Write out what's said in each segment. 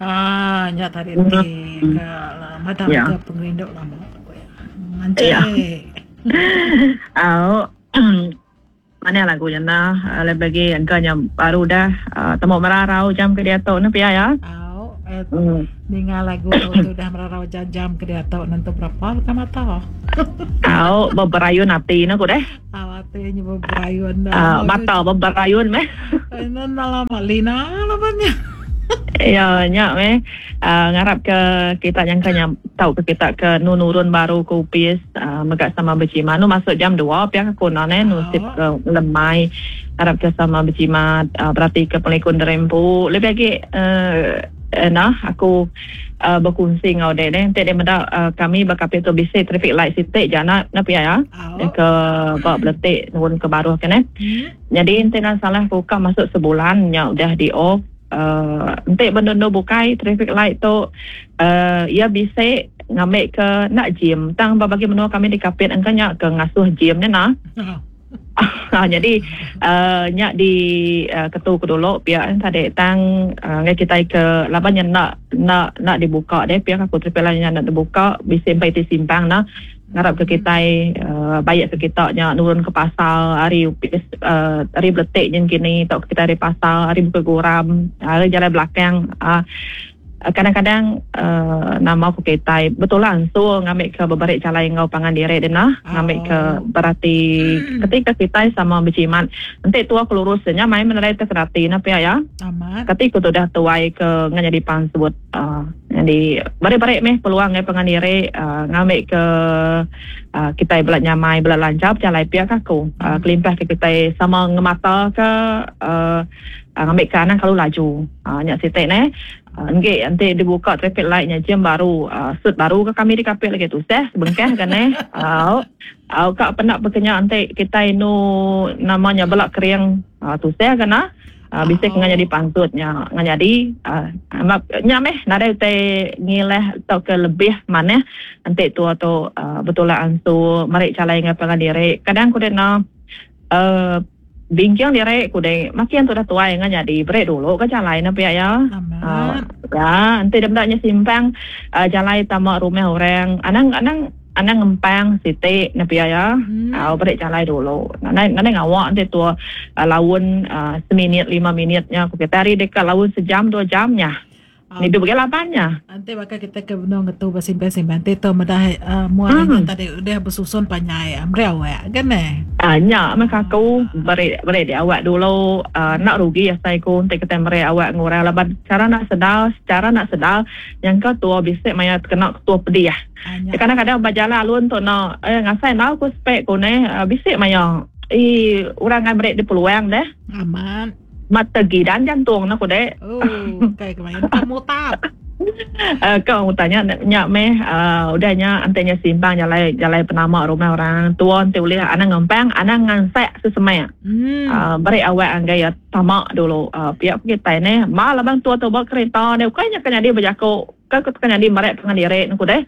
Ah nya tadi ti ke madam ke pengerindu lama ku iya. Manchai. Ya. Au. Manah lagu nya nah lebih agi engka nya baru udah temu merarau jam ke diatu ne pia ya. Au. Ninga lagu tu ti udah merarau jam-jam ke diatu nentu berapa bukan mata. Au beberayun ati ne ku deh. Au ati nya beberayun. Mata beberayun meh. Enda lama lina laban nya. Ya nya meh ngarap ke kita nyangka nya tau ke kita ke nu nurun baru ke opis mega sama bejimat nu masuk jam dua pia ke ku enda neh nu sip ke lemai ngarap ke sama bejimat berati ke pengelikun diri empu lebih agi enda aku bekunsi enggau dek deh enti dek meda kami ba kapit tu bisi traffic light siti ja enda pia ya ke ba beletik nurun ke baruh ke neh. Nyadi enti enda salah ku ka masuk sebulan nya udah di off uhh enti ba endur bukai traffic light tu uhh iya bisi ngambi ke enda jim tang ba bagi menua kami di Kapit engka nya ke ngasuh jim nya nah. Nyadi uhh nya di ketu ku dulu pia tadi tang ngagai kitai ke laban nya enda enda enda dibuka deh pia ku traffic light nya enda dibuka bisi empai ti simpang nah. Ngarap ke kitai baik ke kita nya nurun ke pasar ari opis ari beletik nyin kini tauka kitai ari pasar ari Bukit Goram ari jalai belakang uhh kadang-kadang uhh nama ku kitai betulang ansur ngambi ke beberi jalai enggau pangan diri deh nah ngambi ke berati ketika kitai sama bejimat enti tua ke lurus nya mai menerai te kerati ne pia iya kati ku tudah tuai ke nyadi pansut. Nyadi beri-beri meh peluang ngagai pangan diri ngambi ke kitai bela nyamai bela lancar bejalai pia ka aku. Kelimpah ke kitai sama ngemata ka ngambi ka anang kelalu laju. Nya siti neh. Enggi enti dibuka traffic light nya jam baru sut baru ka kami dikapit lagi tusah sebengkah ga neh. Au ka penda pekenya enti kitai enu nama nya bela kering tusah ga nah. Bisi ke nyadi pansut nya ngan nyadi nya meh nadai utai ngilah tauka lebih manah enti tua tu betulak ansu meri jalai enggau pangan diri. Kadang ku deh enda uhh bingking diri ku deh makin tudah tuai ngan nyadi beri dulu ka jalai ne pia iya. Uhh enti deh meda nya simpang jalai tama rumah orang anang anang. Anang ngempang siti ne pia iya au beri jalai dulu. Nadai nadai ngawa enti tua laun seminit lima minit nya ku kitai ari deka laun sejam dua jam nya. Ngidup agi laban nya. Enti baka kitai ke benung ngetu besimpang-simpang ti tu meda mua nya tadi udah besusun panjai meri awak ga neh. Nya meh ka aku beri beri di awak dulu enda rugi asai ku enti kitai meri awak ngurang laban chara enda sedar secara enda sedar nyangka tua bisi maya tekena ketua pedih. Kadang-kadang ba jalai alun tu enda eh ngasai enggau ku spek ku neh bisi maya ii orang ngai meri dep peluang deh. Amat. Mat tegidan jantung ne ku dek. Oh kai ke maya ka mutap. Ka mutap nya nya meh uhh udah nya enti nya simpang jalai jalai penama rumah orang tua enti ulih anang ngempang anang ngansak sesemak. Uhh beri awak anggai iya tama dulu uhh pia ku kitai neh. Ba laban tua tu ba kereta deh ukai nya ka nyadi bejaku. Ka ke nyadi meri pengan diri ne ku deh.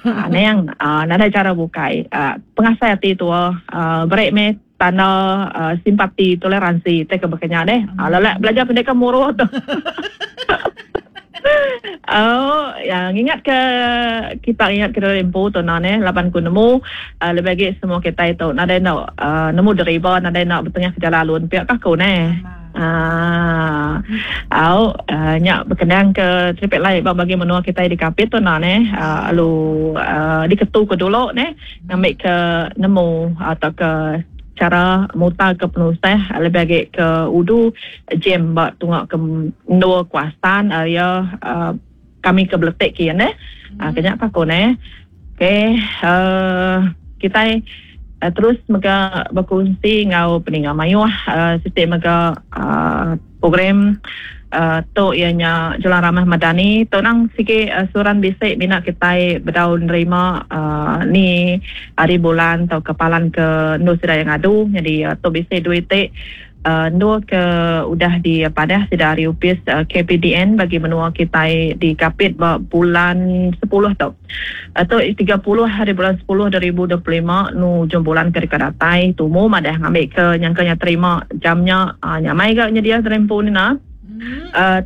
Anang nadai chara bukai. Pengasai ati tua beri meh tanda simpati toleransi tai ke baka nya deh. Lelak belajar pendek ka muruh tu. Au ngingat ke kita ngingat ke diri empu tu enda neh laban ku nemu lebih agi semua kitai tu nadai enda nemu deriba nadai enda betengah ke jalai alun pia ka ku neh. Aaa au nya bekenang ke traffic light ba bagi menua kitai di Kapit tu enda neh lalu diketu ke dulu neh ngambi ke nemu tauka chara mutar ke penusah lebih agi ke udu jam ba tunga ke endur kawasan area kami ke beletik kiye neh. Ke nya ka aku neh. Okey uhh kitai terus mega bekunsi enggau peninga mayuh siti mega uhh program uhh tu iya nya Jalan Ramah Madani tu nang sigi suran bisi mina kitai bedau nerima uhh ni hari bulan tauka palan ke endur sida iya ngadu nyadi tu bisi dua iti. Endur ke udah dipadah sida ari opis KPDN bagi menua kitai di Kapit ba bulan sepuluh tu. Tu 30 hari bulan sepuluh 2025 nu ujung bulan ke deka datai tumu madah ngambika nyangka nya terima jam nya nyamai ga nyedia serempu nina.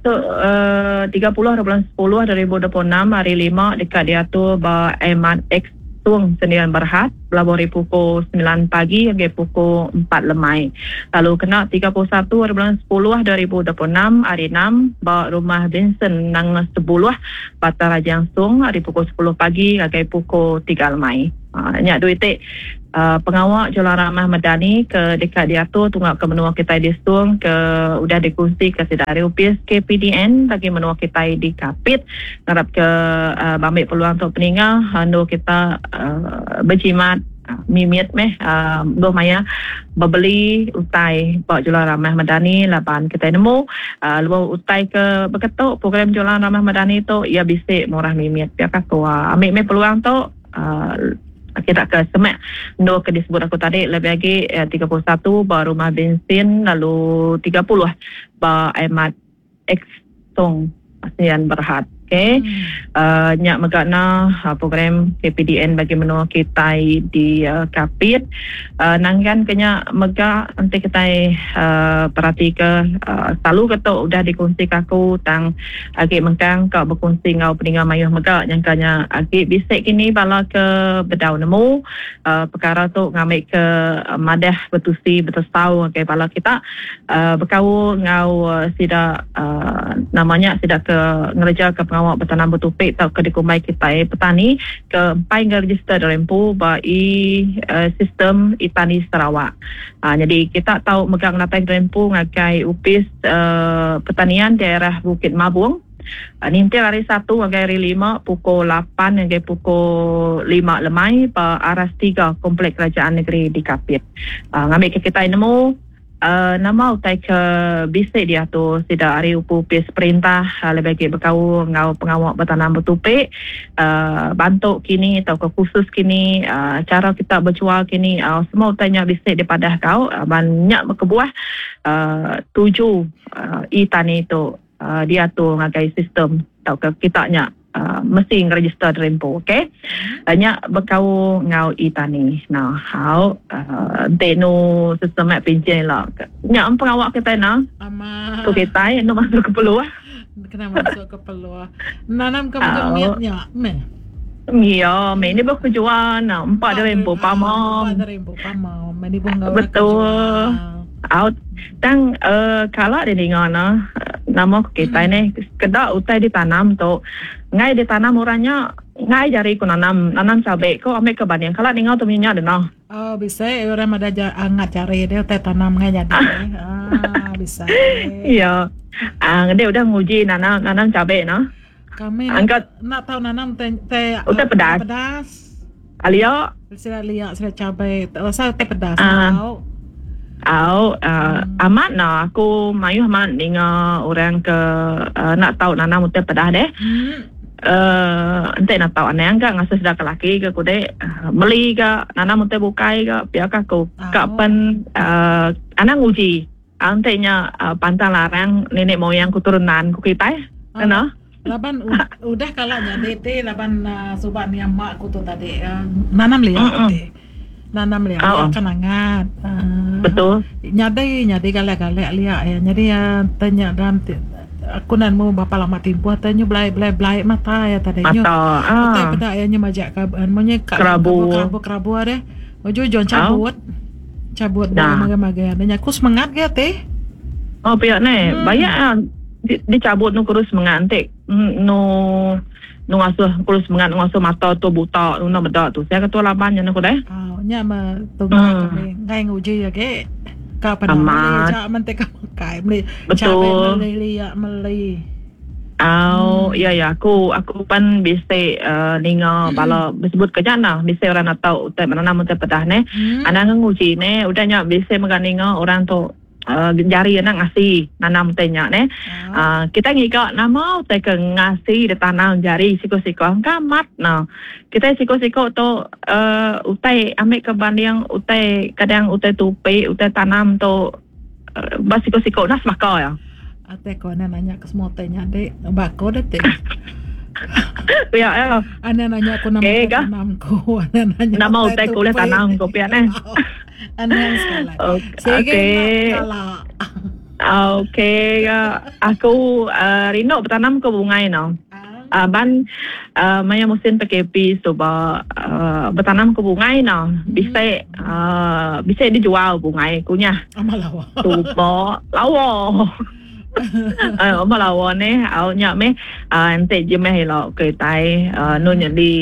Tu 30 hari bulan 10 2026 hari lima deka diatur ba Ahmad X Tung Sendirian Berhad belabuh ari pukul semilan pagi ngagai pukul empat lemai. Lalu kena 31 hari bulan 10 2026 hari enam ba Rumah Vincent Nanga Sebuluh Batang Rajang Song ari pukul sepuluh pagi ngagai pukul tiga lemai. Nya dua iti pengawa Jualan Ramah Medani ke deka diatur tunga ke menua kitai di Song ke udah dikunsika sida ari opis KPDN bagi menua kitai di Kapit. Ngarap ke bambi peluang tu peninga endur kita bejimat mimit meh lebuh maya bebeli utai ba Jualan Ramah Medani laban kitai nemu lebuh utai ke beketu program Jualan Ramah Medani tu iya bisi murah mimit pia ka ku. Ambi meh peluang tu kita ke semak endur ke disebut aku tadi lebih agi 31 ba Rumah Bensin lalu 30 ba Ahmad X Tong Sdn Berhad. Okey. Nya mega na program KPDN bagi menua kitai di Kapit. Nanggan ke nya mega enti kitai peratika selalu ke tu udah dikunsika aku tang agi mengkang ka bekunsi enggau peninga mayuh mega nyangka nya agi bisi kini bala ke bedau nemu pekara tu ngambika madah betusi betesau ngagai bala kita. Bekaul enggau sida nama nya sida ke ngerejaka pengawa betanam betupi tauka dikumbai kitai petani ke empai ngerejister diri empu ba e-sistem e-Tani Sarawak. Nyadi kita tau mega ngenatai diri empu ngagai Opis Pertanian Daerah Bukit Mabong ninting hari Satu ngagai hari Lima pukul lapan ngagai pukul lima lemai ba Aras tiga Komplek Kerajaan Negeri di Kapit. Ngambika kitai nemu Nama utai ke bisi diatur sida ari opis perintah lebih agi bekaul enggau pengawa betanam betupi, bantu kini tauka kursus kini, chara kita bejual kini semua utai nya bisi dipadah kau laban nya kebuah tuju e-tani tu diatur ngagai sistem tauka kita nya. Mesti ngeregister diri empu ok. Nya bekaul enggau e-tani. Nah hau enti nu sistem nya pinchin ila nya pengawa kitai nah. Amat. Ku kitai enu masuk ke peluh. Kena masuk ke peluh. Nanam ke mega mit nya meh. Iya meh ni baka jual nah empa diri empu pama. Empa diri empu pama. Meh ni enggau Betul. Au tang kala didinga ne nama ku kitai neh sekeda utai ditanam tu enggai ditanam orang nya enggai jari ku nanam nanam cabe ko ambi ke banding kala ninga tu mih nya deno. Oh bisi orang madah ja angat jari dia utai tanam enggai jadi aaa bisi. Iya aaa ngedi udah nguji nanam nanam cabe ne. Kami enda tau nanam te te utai pedas. Pedas. Alia. Sida lia sida cabai asal utai pedas au. Au amat nah aku mayuh amat ninga orang ke enda tau nanam utai pedas deh. Enti enda tau anang ga ngasuh sida ke laki ga kudi meli ga nanam utai bukai ga pia ka aku. Ka pen anang nguji. Enti nya pantang larang nenek moyang keturunan ku kitai kena. Laban udah kala nyadi ti laban suba nia mak ku tu tadi nanam lia ti. Nanam lia lia kan angat. Betul. Nyadi nyadi galak galak lia iya nyadi te nya dalam ti aku enda nemu berapa lama timpuh te nyu belai belai belai mata iya tadi nyu utai peda iya nyu majak ka munyi ka kerabu kerabu deh ujung ujung chabut. Cabut Dah. magang-magang. Nya aku semengat ga ti. Oh pia neh. Hmm. Bayak ah dicabut nu kurus semengat enti nu nu ngasuh kurus semengat nu ngasuh mata tu buta nu enda meda tu. Saya ketua laban nya ku deh. Oh nya me tunggal hmm. kami ngai nguji agi. Ka peda meli aja men ti ka makai meli Betul. Meli liak meli. Au, iya iya aku aku pan bisi ninga bala besebut ke nya nah bisi orang atau utai menanam utai pedah neh. Anang nguji neh udah nya bisi mega ninga orang tu jari anak ngasi nanam utai nya neh. Kitai ngiga nama utai ke ngasi ditanam jari siko-siko engka amat ne. Kitai siko-siko tu utai ambi ke banding utai kadang utai tupi utai tanam tu. Ba siko-siko nah semaka iya. Atai ko anak nanya ke semua utai nya dik. Ba aku deh ti. Pia iya. Anak nanya aku nama okay, utai tanam ku. Anak nanya nama utai ku ulih tanam ku pia neh. Anang sekali. Okey. Sige okay. Okey aku rindu betanam ke bungai no. Ban maya musim PKP suba betanam ke bungai no bisi bisi dijual bungai ku nyah. Suba lawa. Ba lawa neh au nya meh enti jemeh ila kitai anu nyadi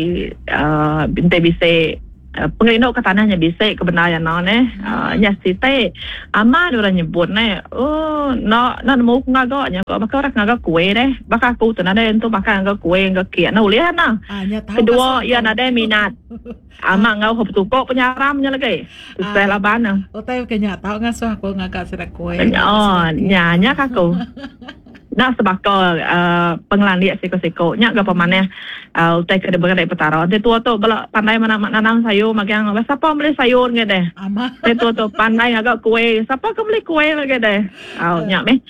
enti bisi Pengerindu ke tanah nya bisi ke bendar iya enda neh. Nya siti amat orang nyebut neh ooh enda enda nemu ku ngaga nya ko baka orang ke ngaga kuih deh. Baka aku tu nadai entu baka ngaga kuih enggau kek enda ulih ana. Kedua iya nadai minat amat enggau betuko penyaram nya lagi. Tusah laban ne. Utai ke nya tau ngasuh aku ngaga sida kuih. Nya nya ka aku. Enda sebaka pengelandik siku-siku. Nya ga pemanah utai ke diberi Petara. Enti tua tu bala pandai nanam sayur magang, sapa meli sayur ngi deh. Enti tua tu pandai ngaga kuih, sapa ke meli kuih lagi deh. Au nya meh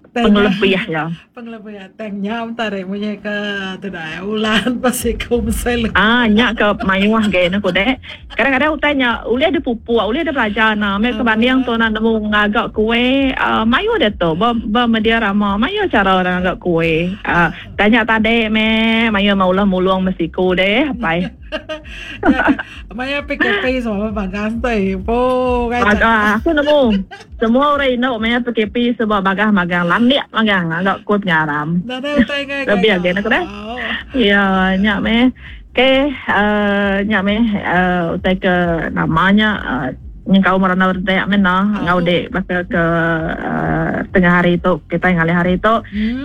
pengelebih iya. Pengelebih iya tang nya tadi munyi ke tudah ulan ba siku mesai lebuh. Ah nya ke mayuh agi ne ku deh. Kadang-kadang utai nya ulih dipupuk, ulih dipelajar enda. Meh ke banding tu enda nemu ngaga kuih uhh mayuh diatu ba ba media rama mayuh chara orang ngaga kuih. Uhh tanya tadi meh mayuh meh ulah mulung meh siku deh apai. Maya PKP semua bagas tu ibu. Bagas aku nemu semua orang indu maya PKP suba bagah magang landik magang ngaga kuih penyaram. Lebih agi ne ku deh. Iya nya meh. Okey uhh nya meh uhh utai ke nama nya uhh nyengkaum randau redak meh nah enggau dik baka ke uhh tengah hari tu kitai ngalih hari tu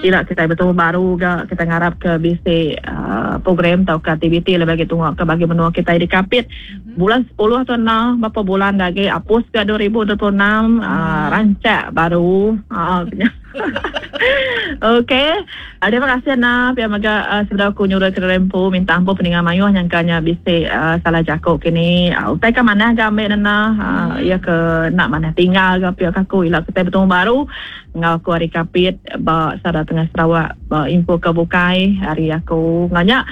ila kitai betemu baru ga kitai ngarap ke bisi uhh program tauka aktiviti lebih agi tunga ke bagi menua kitai di Kapit bulan sepuluh tu nah berapa bulan da agi apus ga 2026 uhh rancak baru uhh nya. Okey. Terima kasih Ana. Pia mega uh, sebedau aku nyurut ke dalam empu minta ampun peninga mayuh nyangka nya bisi uh, salah jaku kini. Uh, utai ka manah ga ambil Nana. Uh, iya ke nak manah tinggal ga pia ka aku ila kitai betemu baru enggau aku ari Kapit ba Sada Tengah Sarawak ba info ke bukai ari aku enggau nya.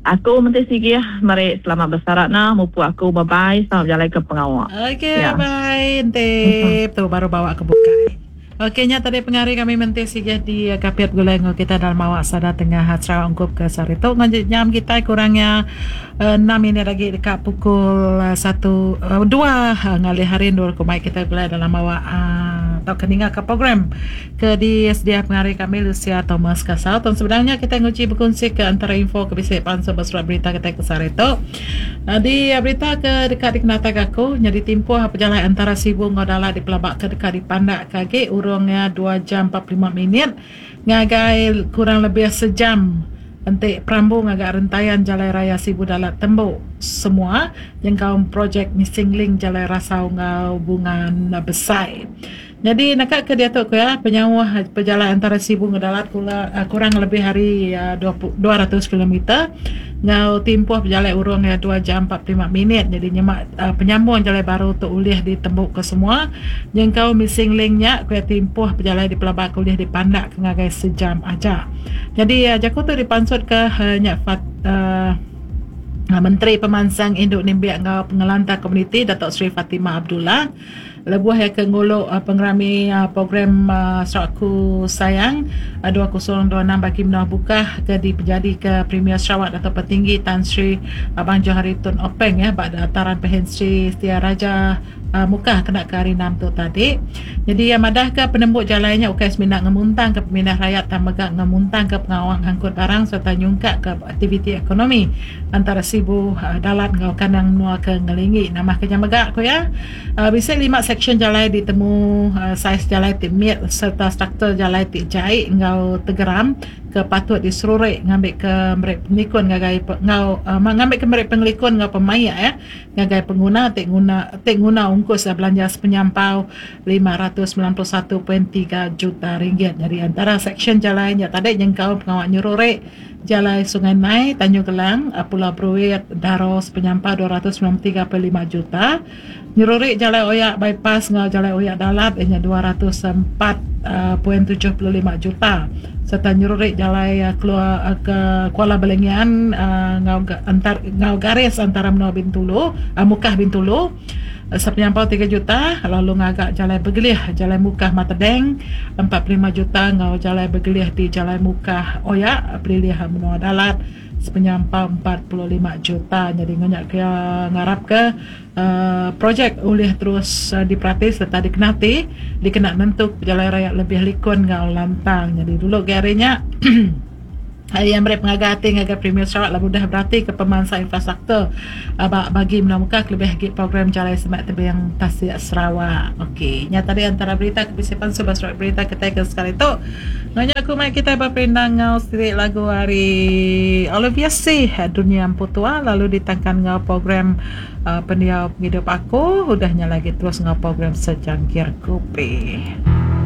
Aku menti sigih meri selamat besarak na mupuk aku bye bye selamat bejalai ke pengawa. Okey ya. bye enti tu baru bawa ke bukai. Ok nya tadi pengari kami menti sigih di Kapit begulai enggau kita dalam awak sada tengah Sarawak ungkup ke sehari tu. Enggau nyam kitai kurang iya enam minit agi deka pukul satu dua ngalih hari endur ku mai kitai begulai dalam awak tauka ninga ka program ke disedia pengari kami Lucia Thomas Kasau. Tang sebenarnya kitai nguji bekunsi ke antara info ke bisi pansut ba surat berita kitai ke sehari tu. Di berita ke deka dikenataika aku, nyadi timpuh pejalai antara Sibu enggau Dalat dipelabaka deka dipandakka agi urung iya dua jam 45 minit ngagai kurang lebih sejam enti perambu ngaga rentayan Jalai Raya Sibu-Dalat tembu semua nyengkaum projek missing link Jalai Rasau enggau Bungan Besai. Nyadi naka ke diatu ku iya, penyauh pejalai antara Sibu enggau Dalat kurang lebih ari 200 kilometer enggau timpuh pejalai urung iya dua jam 45 minit. Nyadi nyema penyambung jalai baru tu ulih ditembuka semua nyengkaum missing link nya ku iya timpuh pejalai dipelabaka ulih dipandakka ngagai sejam aja. Nyadi jaku tu dipansutka nya Menteri Pemansang Indu Nembiak enggau Pengelantang Komuniti Dato Sri Fatimah Abdullah. Lebuh iya ke ngulu pengerami program Sarawakku Sayang 2026 bagi menua Bukah ke dipejadika Premier Sarawak Datuk Patinggi Tan Sri Abang Johari Tun Openg ba Dataran Pehin Sri Setia Raja Mukah kena ke Hari Enam tu tadi. Nyadi iya madahka penembu jalai nya ukai semina ngemuntangka pemindah rayat tang mega ngemuntangka pengawa ngangkut barang sereta nyungkakka aktiviti ekonomi antara Sibu, Dalat enggau kandang menua ke ngelinggi. Nambahka nya mega ku iya, Bisi lima seksyen jalai ditemu saiz jalai ti mit sereta struktur jalai ti jai enggau tegeram ke patut diseruri ngambika meri pengelikun ngagai enggau ngambika meri pengelikun enggau pemaik ngagai penguna ti nguna ti nguna ungkus belanja sepenyampau 591.3 juta ringgit. Nyadi antara seksyen jalai nya tadi nyengkaum pengawa nyeruri Jalai Sungai Nai, Tanjung Gelang, Pulau Bruit, Daro sepenyampau 293.5 juta, nyeruri Jalai Oyak Bypass enggau Jalai Oyak Dalat iya nya 204.75 juta sereta nyeruri jalai keluar ke Kuala Balingian enggau enggau garis antara menua Bintulu, Mukah Bintulu. Sepenyampau tiga juta lalu ngaga Jalai Begelih Jalai Mukah Matedeng 45 juta enggau Jalai Begelih di Jalai Mukah Oya Pelilih Menua Dalat sepenyampau 45 juta. Nyadi enggau nya ke ngarapka projek ulih terus diperati sereta dikenati dikena nentuka pejalai rayat lebih likun enggau lantang. Nyadi dulu agi hari nya Iya meri pengaga ati ngagai Premier Sarawak lalu udah beratika pemansang infrastruktur ba bagi menua muka kelebih agi program Jalai Semak Tebing Tasik Sarawak. Okey, nya tadi antara berita ke bisi pansu ba surat berita kitai ke sekali tu. Enggau nya aku mai kitai beperindang enggau siti lagu ari Olivia Sih, Dunya Empu Tua lalu ditangkan enggau program Pendiau Pengidup Aku. Udah nya lagi terus enggau program Sejangkir Kopi.